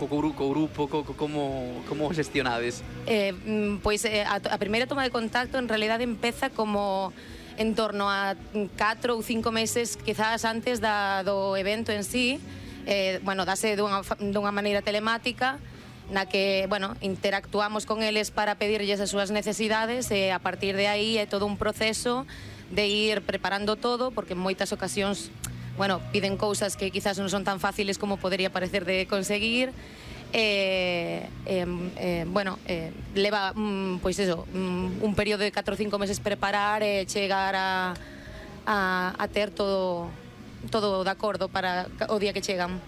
co grupo, como gestionades? Pois a primeira toma de contacto en realidade empeza como en torno a 4 ou 5 meses quizás antes do evento en sí. Bueno, dase dunha maneira telemática na que, bueno, interactuamos con eles para pedirlles as súas necesidades e a partir de aí é todo un proceso de ir preparando todo, porque en moitas ocasións, bueno, piden cousas que quizás non son tan fáciles como podería parecer de conseguir. Bueno, leva pois eso, un período de 4 ou 5 meses preparar e chegar a ter todo de acordo para o día que chegan.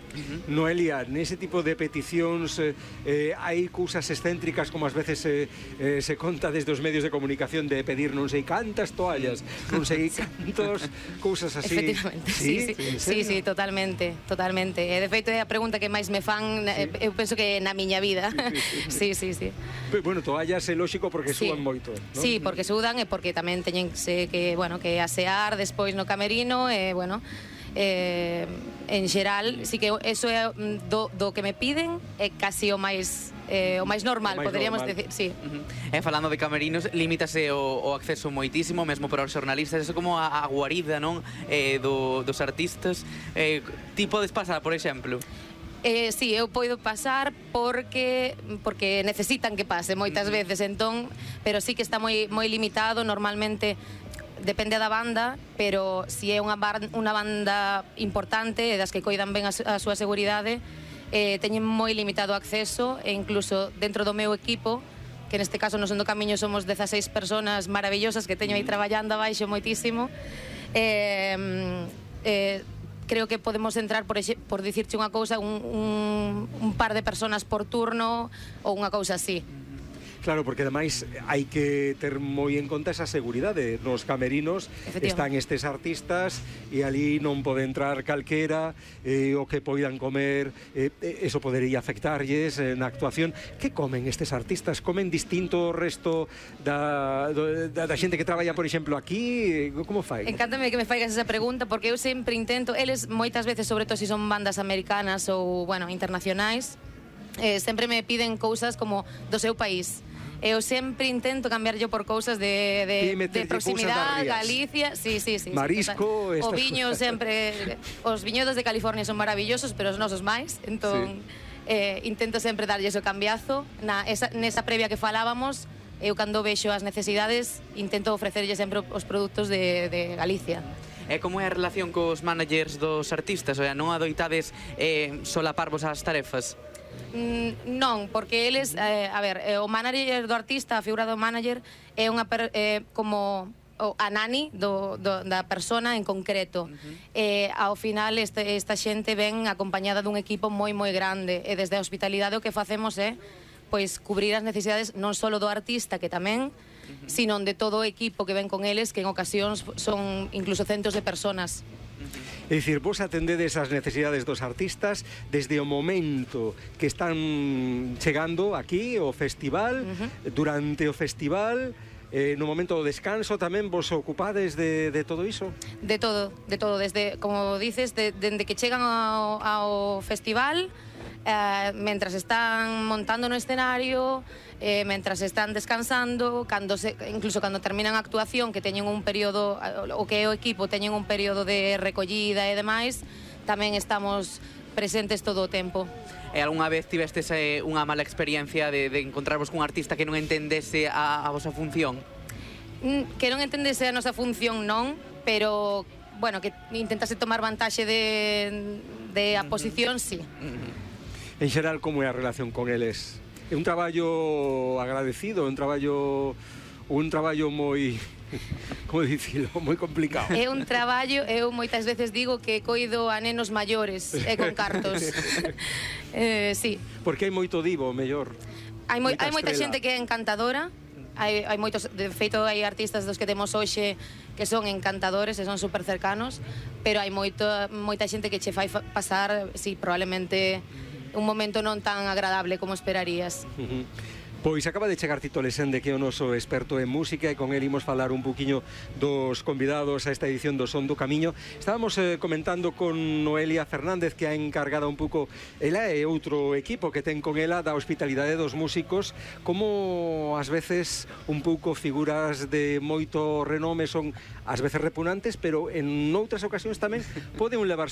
Noelia, nese tipo de peticións hai cousas excéntricas como ás veces se conta desde os medios de comunicación de pedir non sei cantas toallas, non sei cantos, cousas así. Efectivamente, sí, totalmente. E de feito é a pregunta que máis me fan, eu penso que na miña vida. Sí. Bueno, toallas é lógico porque sudan moito, non? Sí, porque sudan e porque tamén teñen que asear despois no camerino e, bueno, en xeral, sí que eso é do que me piden é casi o máis normal, poderíamos decir, sí. Falando de camerinos, limítase o acceso moitísimo, mesmo para os xornalistas, eso como a guarida, non, dos artistas. Ti podes pasar, por exemplo? Sí, eu podo pasar porque necesitan que pase moitas veces, entón, pero sí que está moi limitado. Normalmente depende da banda, pero se é unha banda importante das que coidan ben a súa seguridade, teñen moi limitado acceso, e incluso dentro do meu equipo, que neste caso no Son do Camiño somos 16 personas maravillosas que teño aí traballando abaixo moitísimo, creo que podemos entrar, por dicirche unha cousa, un par de personas por turno ou unha cousa así. Claro, porque ademais hai que ter moi en conta esa seguridade. Nos camerinos están estes artistas e ali non pode entrar calquera, o que poidan comer, eso podería afectarlles na actuación. Que comen estes artistas? Comen distinto o resto da xente que traballa, por exemplo, aquí? Como fai? Encántame que me faigas esa pregunta, porque eu sempre intento, eles moitas veces, sobre todo se son bandas americanas ou, bueno, internacionais, sempre me piden cousas como do seu país. Eu sempre intento cambiar yo por cousas de proximidade, Galicia, sí. Marisco, o viño sempre, os viñedos de California son maravillosos, pero os nosos máis, entón intento sempre darlle o cambiazo. Nesa previa que falábamos, eu cando vexo as necesidades intento ofrecerlle sempre os produtos de Galicia. E como é a relación cos managers dos artistas? O sea, non adoitades solaparvos as tarefas? Non, porque eles, a ver, o manager do artista, a figura do manager é unha como a nani da persona en concreto. Ao final esta xente ven acompañada dun equipo moi grande, e desde a hospitalidade o que facemos é pois cubrir as necesidades non só do artista, que tamén, sino de todo o equipo que ven con eles, que en ocasións son incluso centos de personas. É dicir, vos atendedes as necesidades dos artistas desde o momento que están chegando aquí ao festival, durante o festival, no momento do descanso tamén vos ocupades de todo iso? De todo, desde, como dices, dende que chegan ao festival, mentras están montando no escenario, mentras están descansando, incluso cando terminan a actuación, que teñen un período, o que é o equipo teñen un período de recollida e demais, tamén estamos presentes todo o tempo. E algunha vez tivestes unha mala experiencia de encontrarvos cun artista que non entendese a vosa función? Que non entendese a nosa función non, pero, bueno, que intentase tomar vantaxe de a posición, sí. En xeral, como é a relación con eles? É un traballo agradecido, un traballo moi, como dicilo, moi complicado. É un traballo, eu moitas veces digo que coido a nenos maiores e con cartos. Sí. Porque hai moito divo, mellor. Hai moita xente que é encantadora, hai moitos, de feito hai artistas dos que temos hoxe que son encantadores e son super cercanos, pero hai moita xente que che fai pasar, sí, probablemente un momento non tan agradable como esperarías. Pois acaba de chegar Tito Lesende, que é o noso experto en música, e con el imos falar un poquinho dos convidados a esta edición do Son do Camiño. Estábamos comentando con Noelia Fernández, que ha encargado un pouco, ela e outro equipo que ten con ela da hospitalidade dos músicos, como ás veces un pouco figuras de moito renome son ás veces repugnantes, pero en outras ocasións tamén poden levarse